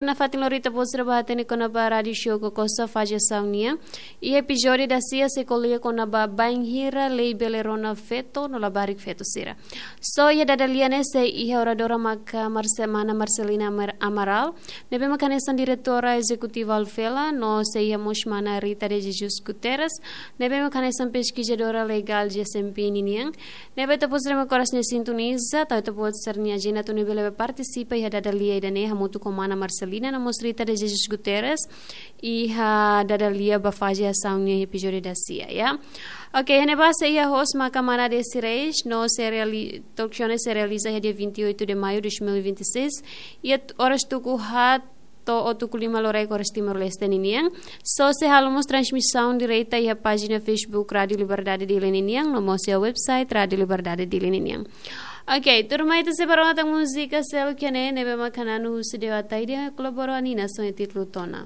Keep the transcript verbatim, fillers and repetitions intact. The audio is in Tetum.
Nafatin loron ita-boot sira bá hatene kona-ba rádiu show Kokosa faze asaun nian. Iha epizódiu dasia sei ko'alia kona-ba bainhira lei bele rona feto no labarik feto sira. So iha dada lia ne'e sei iha oradora maka Marce-, mana Marcelina Amar-, Amaral, ne'ebé maka hanesan diretora ezekutiva Alvela, no sei iha mós mana Rita de Jesus Guterres, ne'ebé maka hanesan peskizadora legál G S M P ninian. Ne'ebé ita-boot sira mak oras ne'e sintoniza, tau ita-boot sira-nia ajenda atu nune'e bele partisipa iha dada lia ida-ne'e hamutuk ho mana Marcelina no mós Rita de Jesus Guterres, iha dada lia ba faze asaun nian iha epizódiu dasia, ya. Oke, iha ne'ebá sei iha host maka mana Desi Reis, no sei reali-, talk show ne'e sei realiza iha dia vinte e oito de maio de dois mil e vinte e seis, iha t-, oras tuku haat to'o tuku lima loraik oras Timor-Leste ninian. So sei halo mós transmisaun direta iha pájina Facebook Rádiu Liberdade Dili ninian, no mós iha website Rádiu Liberdade Dili ninian. Oke, tuirmai ita sei bá rona tan múzika seluk iha ne'e, ne'ebé maka hananu husi Dewa Taide, kolabora Nina, so iha títulu Tona.